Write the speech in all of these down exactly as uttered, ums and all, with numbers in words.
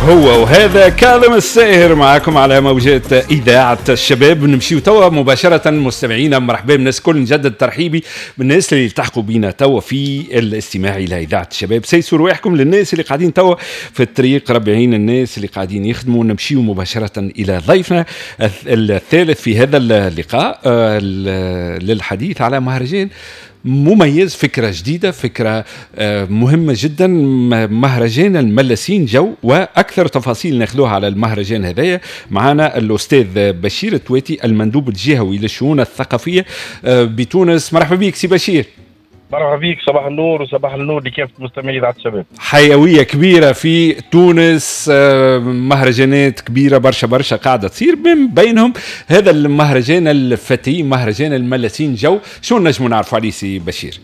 هو وهذا كاظم الساهر معكم على موجات إذاعة الشباب. نمشيو توا مباشرة مستمعينا، مرحبا بالناس الكل، نجدد ترحيبي بالناس اللي التحقوا بينا توا في الاستماع إلى إذاعة الشباب. سيسوا رواحكم للناس اللي قاعدين توا في الطريق، ربي يعين الناس اللي قاعدين يخدموا. نمشيو مباشرة إلى ضيفنا الثالث في هذا اللقاء آه، للحديث على مهرجان مميز، فكرة جديدة، فكرة آه، مهمة جدا، مهرجان الملاسين جو. وأكثر تفاصيل ناخذوها على المهرجان هذايا معنا الأستاذ بشير التواتي المندوب الجهوي للشؤون الثقافية آه، بتونس. مرحبا بك سي بشير. مرحبا بك، صباح النور وصباح النور لكافة مستمعي إذاعة الشباب. حيوية كبيرة في تونس، آه، مهرجانات كبيرة برشا برشا قاعدة تصير، من بينهم هذا المهرجان الفتي مهرجان الملاسين جو. شو نجموا نعرفوا عليه سي بشير؟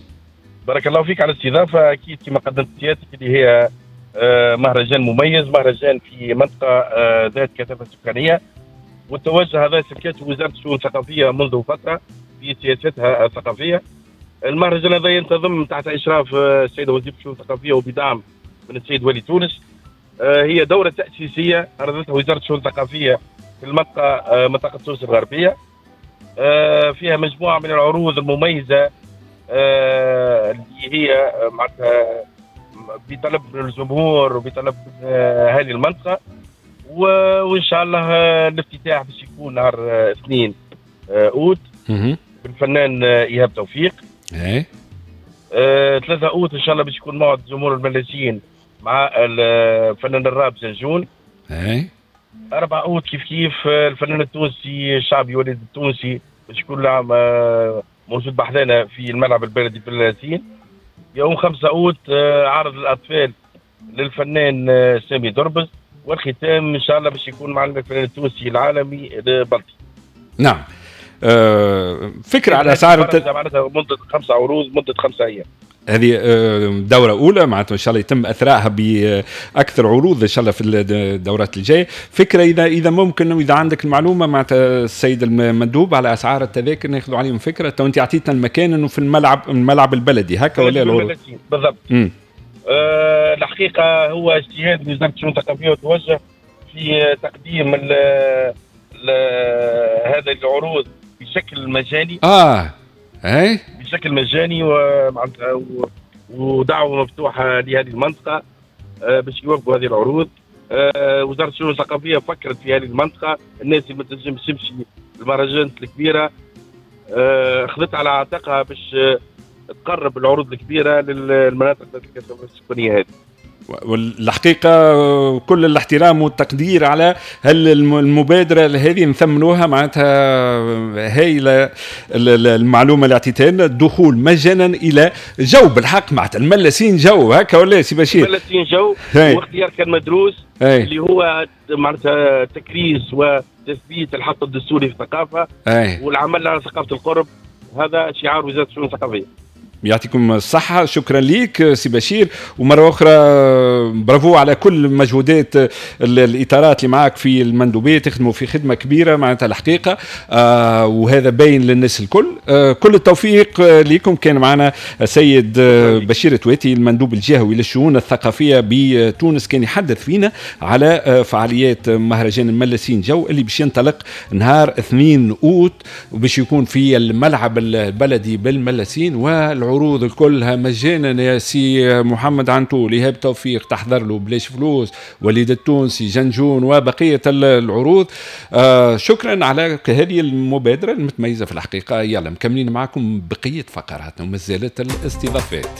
بارك الله فيك على الاستضافة. أكيد كما قدمت سيادتك اللي هي آه، مهرجان مميز، مهرجان في منطقة آه، ذات كثافة سكانية، والتوجه هذا سلكته وزارة الشؤون الثقافية منذ فترة في سياستها الثقافية. المهرجان هذا ينتظم تحت اشراف السيدة وزيره الشؤون الثقافية وبدعم من السيد ولي تونس. هي دوره تاسيسيه عرضتها وزارة الشؤون الثقافية في المنطقة، منطقة تونس الغربية. فيها مجموعة من العروض المميزة اللي هي معناتها بطلب من الجمهور وبطلب من اهالي المنطقة، وان شاء الله الافتتاح باش يكون نهار اثنين اوت بالفنان ايهاب توفيق. ايه آه، ثلاثة اوت ان شاء الله باش يكون موعد جمهور الملاسين مع الفنان الراب جنجون. ايه أربعة اوت كيف كيف الفنان التونسي الشعبي وليد التونسي باش يكون موجود بحذانا في الملعب البلدي في الملاسين. يوم خمسة اوت عرض الاطفال للفنان سامي دربز، والختام ان شاء الله باش يكون مع الفنان التونسي العالمي بلطي. نعم، أه فكرة على اسعار معناتها مده خمسة عروض مده خمسة ايام. هذه دورة أولى، معناتها إن شاء الله يتم إثرائها بأكثر عروض إن شاء الله في الدورات الجاية. فكرة إذا إذا ممكن وإذا عندك المعلومة معناتها السيد المندوب على أسعار التذاكر ناخذوا عليهم فكرة. تو أنت أعطيتنا المكان إنه في الملعب الملعب البلدي هكا ولا العروض؟ بالضبط. أه الحقيقة هو اجتهاد من وزارة الشؤون الثقافية وتوجه في تقديم ال ال هذه العروض بشكل مجاني. اه اي بشكل مجاني ومعناتها ودعوة مفتوحة لهذه المنطقة باش يواكبوا هذه العروض. وزارة الشؤون الثقافية فكرت في هذه المنطقة، الناس اللي ما تنجمش تمشي المهرجانات الكبيرة اخذت على عاتقها باش تقرب العروض الكبيرة للمناطق ذات الكثافة السكانية هذه. والحقيقة كل الاحترام والتقدير على المبادرة هذه نثمنوها، معناتها هايلة المعلومة اللي اعطيتها لنا. الدخول مجانا إلى جو بالحق معناتها الملاسين جو هكا ولا سي بشير؟ الملاسين جو واختيار كان مدروس هاي. اللي هو معناتها تكريس وتثبيت الحق الدستوري في الثقافة هاي. والعمل على ثقافة القرب، هذا شعار وزارة الشؤون الثقافية. يعطيكم الصحة، شكرا ليك سي بشير، ومرة أخرى برافو على كل مجهودات الإطارات اللي معاك في المندوبية، تخدموا في خدمة كبيرة معناتها الحقيقة، آه وهذا باين للناس الكل. آه كل التوفيق لكم. كان معنا السيد بشير تواتي المندوب الجهوي للشؤون الثقافية بتونس، كان يحدث فينا على فعاليات مهرجان الملاسين جو اللي باش ينطلق نهار اثنين أوت وباش يكون في الملعب البلدي بالملاسين، والعروض العروض كلها مجانا يا سي محمد عنتول، إيهاب توفيق تحضر له بلاش فلوس، وليد التونسي، جنجون، وبقية العروض. آه شكرا على هذه المبادرة المتميزة في الحقيقة. يلا مكملين معكم بقية فقراتنا ومازالت الاستضافات.